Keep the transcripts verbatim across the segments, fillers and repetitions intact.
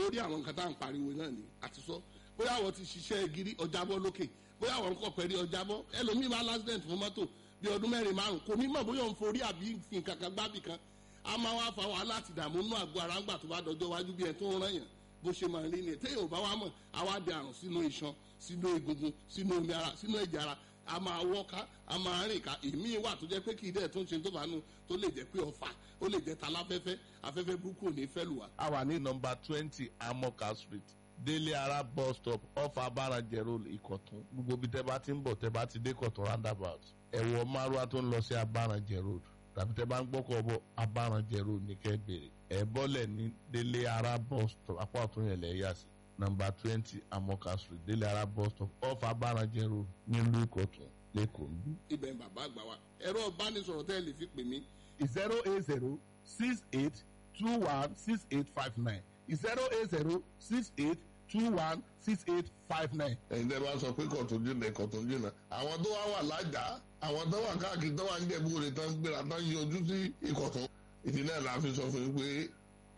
Lórí àwọn nǹkan tá à ń pariwo náà ni àti sọ bóyá àwọn ti ṣiṣẹ́ gírí ọjàbọ́ lókè, bóyá àwọn nǹkan pẹ̀lú ọjàbọ́. Ẹlòmíì máa l'accident fún mọ́tò bí ọdún mẹ́rin márùn, kò ní mọ̀ bóyá òun forí àbí fi nǹkan kan gbábì kan. A máa wá fa wàhálà àti ìdààmú nínú àgọ́ ara ńgbà tó bá dọjọ́ wájú bí ẹ tó ń rán yàn bó ṣe máa rí ni. Téèyàn ò bá wá mọ̀, á wá di àrùn sínú iṣan, sínú egungun, sínú omi ara, sínú ẹ̀jẹ̀ ara. A máa wọ́ká, a máa rìn ká. Ìmíì wà tó jẹ́ pé kì í dẹ̀ tó ń ṣe tó bá nu, tó lè jẹ́ pé ọfà, ó lè jẹ́ taláfẹ́fẹ́. Afẹ́fẹ́ burúkú ò ní fẹ́ lù wá. A wà ní nọ́mbà twenty Amoka Street, Délé Ara bus stop, off Abarajẹ Road, Ìkọ̀tún. Gbogbo ibi tẹ́ bá ti ń bọ̀, tẹ́ bá ti dé Ìkọ̀tún roundabout, ẹ wọ márúwá tó ń lọ sí Abarajẹ Road, tàbí tẹ́ bá ń gbọ́kọ̀ bọ̀, Abarajẹ Road ní kẹ́ bèrè. Ẹ bọ́lẹ̀ ní Délé Ara bus stop, apá ọ̀tún yẹn lẹ̀ yà sí. Nọ́mbà twenty Amoka Street, Délé Ara bus stop, off Abarajẹ Road, nílùú Ìkọ̀tún, lẹ́kọ̀ọ́ ń bí. Ibẹ̀ ń bàbá àgbà wa. Ẹ̀rọ ìbánisọ̀rọ̀ tẹ́ ẹ lè fi pè mí: zero eight zero six eight two one six eight five nine, zero eight zero six eight two one six eight five nine. Ẹ̀yin tẹ́ bá sọ pé Kọ̀tún jìnnà, Ìkọ̀tún jìnnà, àwọn tó wá wà lájà, àwọn tó wà káàkiri, tó wà ń jẹ̀bú rẹ̀, tó ń gbéra, tó ń yọjú sí Ìkọ̀tún. Ìdí náà la fi sọ fún yín pé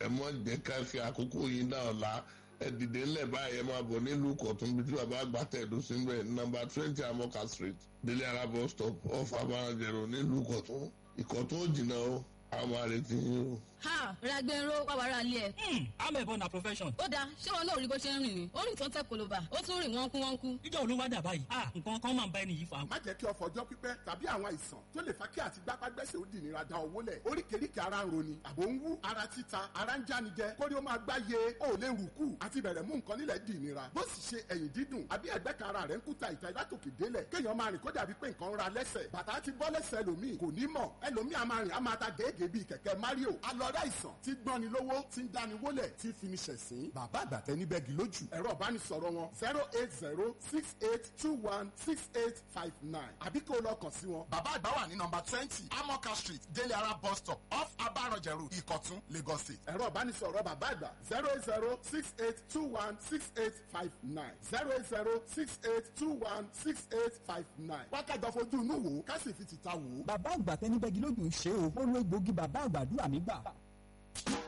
ẹ mọ̀ jẹ́ ká fi àkókò yín dá ọ̀la. Ẹ dìde ńlẹ̀ báyìí, ẹ máa bọ̀ nílùú Ìkọ̀tún bí tí bàbá àgbà tẹ̀dó sí ń bẹ̀, nọ́mbà twenty Amoka Street, Délé Ara bus stop, off Abarajẹ Road, nílùú Ìkọ̀tún. Ìkọ̀tún ò jìnnà o, àwọn àrètí yín o. Ha, Ràgbẹ̀rọ wà wàrà ilé ẹ̀. Hmm, amẹ̀bọ na profession. Ó dáa, ṣé wọn náà rí bó ṣe ń rìn ni? Ó rìn tó ń tẹ koloba, ó tún rìn wọ́n kú wọ́n kú. Níjọ́ olówó dà báyìí. Ah, nǹkan kan máa ń bá ẹni yìí fa. Má jẹ́ kí ọ̀fọ̀ ọjọ́ pípẹ́ tàbí àwọn àìsàn tó lè fa kí àti gbápágbẹ́sẹ̀ ó dìnira da owó lẹ̀. Oríkèéríkèé ara ń roni, àbò ń wú, ara títa, ara ń jánijẹ, kórí ó máa gbáyé, ó lè rùkú àti bẹ̀rẹ̀ mú nǹkan nílẹ̀ dìnira. Bó sì ṣe ẹ̀yìn dídùn àbí ẹ̀gbẹ́ kan ara rẹ̀ ń kúta ìta látòkè délẹ̀, kéèyàn máa rìn kó dàbí pé nǹkan ń ra lẹ́sẹ̀. Bàtà ti bọ́ lẹ́sẹ̀ ẹlòmíì, kò ní mọ̀. Ẹlòmíì a máa rìn, a máa ta gèégèé bíi kẹ̀kẹ́ Mario. Alọ́rẹ́ àìsàn tí gbọ́ni lówó, tí ń dáni wólẹ̀, tí fi ni ṣẹ̀sín. Bàbá àgbàtẹ́ níbẹ̀gì lójú. Ẹ̀rọ ìbánisọ̀rọ̀ wọn: zero eight zero six eight two one six eight five nine, àbí kó o lọ kàn sí wọn. Bàbá àgbà wà ní nọ́mbà twenty Amoka Street, Délé Ara bus stop, off Abarajẹ Road, Ìkọ̀tún, Lagos State. Ẹ̀rọ ìbánisọ̀rọ̀ bàbá àgbà: zero eight zero six eight two one six eight five nine, zero eight zero six eight two one six eight five nine. Wákàtí fojú inú wò ó, ká sì fi tìta wò ó. Bàbá àgbà tẹnibẹ́gi lójú ń ṣe o. Ó lo egbòogi bàbá àgbàdúrà mi gbà.